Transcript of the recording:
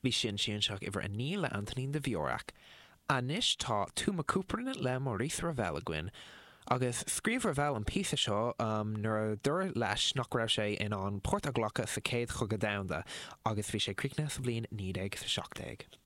Bhí sin Sianseach uimhir 9 le Antonín Dvorak. Anois tá Tuma Couperin le Maurice Ravel againn. Agus scríobh Ravel an píosa seo nuair a dúradh leis nach raibh sé in ann páirt a ghlacadh sa Chéad Chogadh Domhanda agus bhí sé críochnaithe sa bhliain 1917.